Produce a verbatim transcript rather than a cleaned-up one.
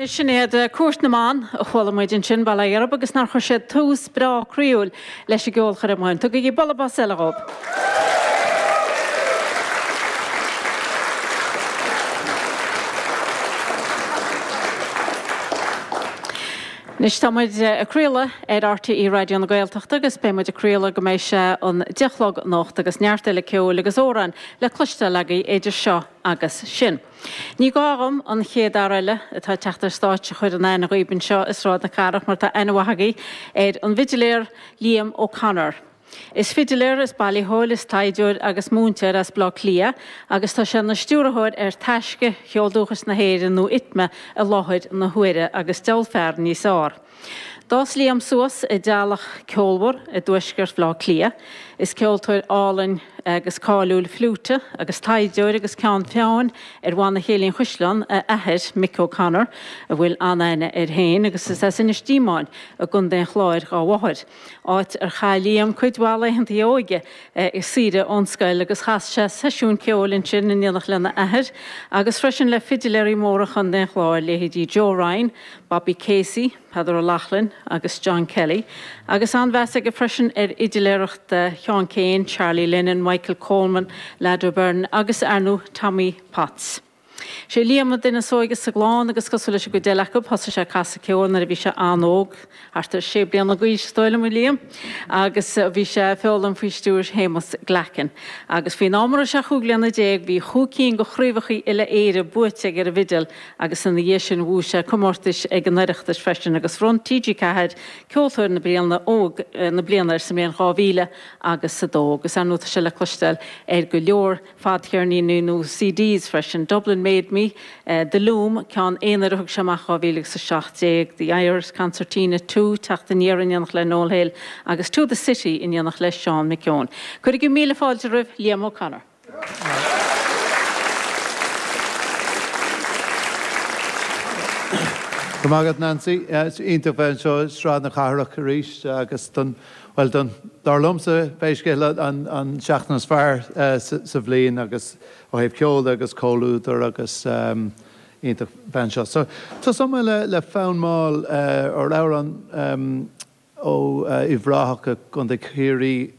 Sin iad Cúirt na mBan a chuala muid ansin Baile Ghirb agus nár chuir siad tús breá croíúil leis an gceolchoirm. Tugaigí bualadh bos eile dhóibh. Anois tá muid ag craoladh ar RTÉ Raidió na Gaeltachta agus beidh muid ag craoladh go mbeidh sé an deich a chlog anocht agus neart eile ceoil agus amhráin le cloisteáil agaibh idir seo agus sin. Ní gá dhom an chéad fhear eile atá ag teacht ar stáitse a chur in aithne dhaoibh anseo i Sráid na Cathrach mar tá aithne mhaith agaibh ar an bhfidiléir Liam O'Connor. Is fidiléir, is bailitheoir, is taighdeoir agus múinteoir as Baile Átha Cliath agus tá sé ina stiúrthóir ar Taisce Cheol Dúchais na hÉireann nó ITMA i láthair na huaire agus diabhal fear níos fearr. D'fhás Liam suas i dteaghlach ceolmhar i dtuaisceart Bhaile Átha Cliath. Is ceoltóir álainn agus cáiliúil fliúite agus taighdeoir agus ceann feadhain ar Bhanna Chéilí an Chaisleáin a athair Mick O'Connor a bhfuil an-aithne air féin agus is as Inis Díomáin i gContae an Chláir dá mháthair. Áit ar chaith Liam cuid mhaith laethanta a óige i saoire ón scoil agus chas sé seisiún ceoil ansin in éineacht lena athair agus freisin le fidiléirí móra Chontae an Chláir, leithéidí Joe Ryan, Bobby Casey, Peadar O'Loughlin agus John Kelly, agus an-mheas aige freisin ar fhidiléireacht Sheán Keane, Charlie Lennon, Michael Coleman, Lad O'Byrne agus ar ndóigh Tommy Potts. Sé Liam an duine is óige sa gclann agus cosúil leis an gcuid eile acu, thosaigh sé ag casadh ceoil nuair a bhí sé an-óg, thart ar sé bliana d'aois is dóigh liom, a Liam, agus bhí sé ag foghlaim faoi stiúir Shéamus Glackin. Agus faoin am a raibh sé chúig bliana déag bhí chúig cinn de chraobhacha uile-Éire buaite aige ar an bhfidil agus ina dhiaidh sin bhuaigh sé comórtais ag an Oireachtas freisin agus bhronn TG Ceathair Ceoltóir na Bliana óg na bliana air sa mbliain dhá mhíle agus a dó agus ar ndóigh tá sé le cloisteáil ar go leor fadcheirníní nó CDs freisin, Dublin Made Me, The Loom, ceann aonair a thug sé amach dhá mhíle agus a seacht déag, The Irish Concertina Two, Teacht Aniar in éineacht le Noel Hill agus To the City in éineacht le Seán McKeown. Cuirigí míle fáilte roimh Liam O'Connor. Go raibh maith agat Nancy. Is iontach bheith anseo i Sráid na Cathrach arís agus don, bhuel don, dar liomsa, pé scéal é an, an seachtain is fearr sa bhliain agus ó thaobh ceoil de agus comhluadar agus iontach bheith anseo. So tosóidh mé le, le fonn mall ar amhrán ó Uíbh Ráthach i gContae Chiarraí.